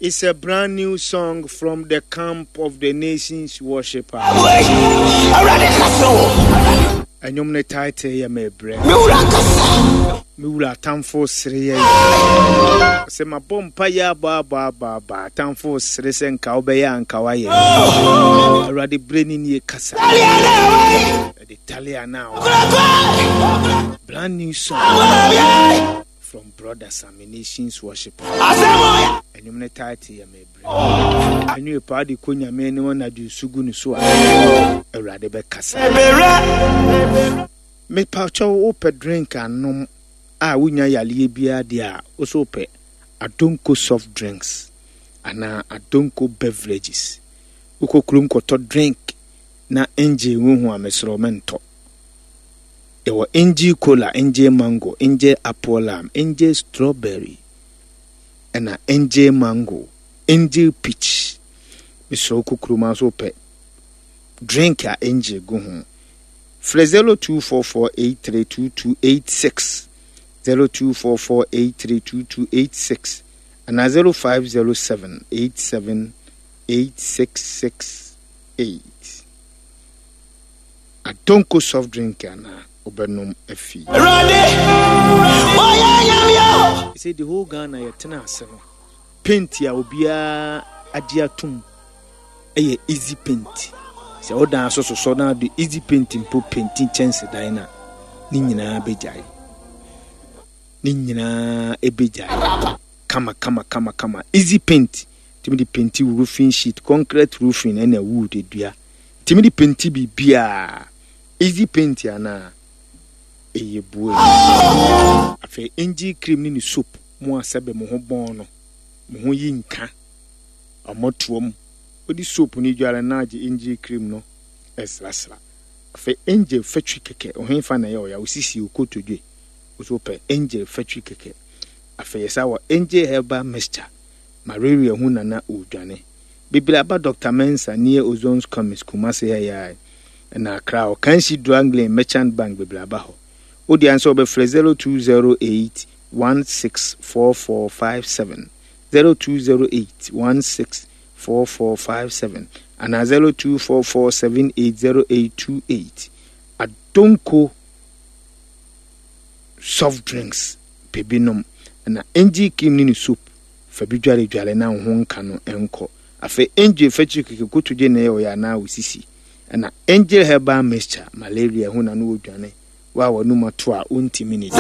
It's a brand new song from the camp of the nations worshiper. Ɛnwom ne title yɛ Mebrɛ. Me wura atamfo sere yɛ. Sɛ mabɔ mpa yɛ abɔ abɔ abɔ abɔ atamfo sere sɛ nka wobɛyɛ anka wayɛ. Awurade bere ne nie kasa. Ɛde tale ana. Brand new song from Brother Sammy Nations Worship. Ɛnwom ne title yɛ Mebrɛ. Ɛnwom paa de kɔ Nyame anim anadwo nsu gu ne so a Awurade bɛkasa. Mepakyɛw wopɛ drink anom a wonya yaleɛ biara deɛ a wo so wopɛ Adonko soft drinks anaa Adonko beverages. Wokɔ kurom kɔtɔ drink na engye wohu a mesrɛ wo mentɔ. Yɛwɔ Angel Cola, Angel Mango, Angel Apple Lime, Angel Strawberry, ɛna Angel Mango, Angel Peach. Mesrɛ wo kokuruma nso wopɛ drink a Angel gu ho. Frɛ 0244832286, 0244832286 anaa 0507878668. Adonko soft drink ana wobɛnom afi. Awurade, woyɛ Nyame o. Sɛ the whole Ghana yɛtena ase no, paint a obiara agye atom yɛ easy paint. Sɛ wo dan so sosɔ na de easy paint mpo painti kyɛnsedan no a, ne nyinaa bɛgyae. Ne nyinaa ɛbɛgyae. Kama kama kama kama. Easy paint tumi de painti roofing sheet, concrete roofing ɛna wood dua. Tumi de penti biribiara. Easy paint anaa? Ɛyɛ bue. Afei angel cream ne ne soap mo a sɛbe mo ho bɔn no, mo ho yi nka. Ɔmɔtoam. Wode soap no dware na agye angel cream no srasra. Afei angel fatwi kɛkɛ, ɔhefa na ɛyɛ ɔya, osisi okotodwe. Wo so wopɛ angel fatwi kɛkɛ. Afei yɛsa wɔ angel herbal mixture, malaria hu nana ɔredwane. Bebree aba Doctor Mensah near Ozon's Chemist Kumasi ha yi ara ɛna Accra hɔ Kanshi Drug Lane Merchant Bank bebree aba hɔ. Wo deɛ ansɛ wobɛfrɛ 0208 164457 0208 164457 anaa 0244 780828. Adonko soft drinks pɛ bi nom ɛna Angel cream ne ne soap Fa bi dwaredware na wo ho nka no nkɔ. Afei Angel fakyiri keke kotodwe na ɛyɛ ɔyɛ anaa wo sisi. Ɛna Angel herbal mixture, malaria ho na no odwane. Wo a w'anum ato a wontimi nidi.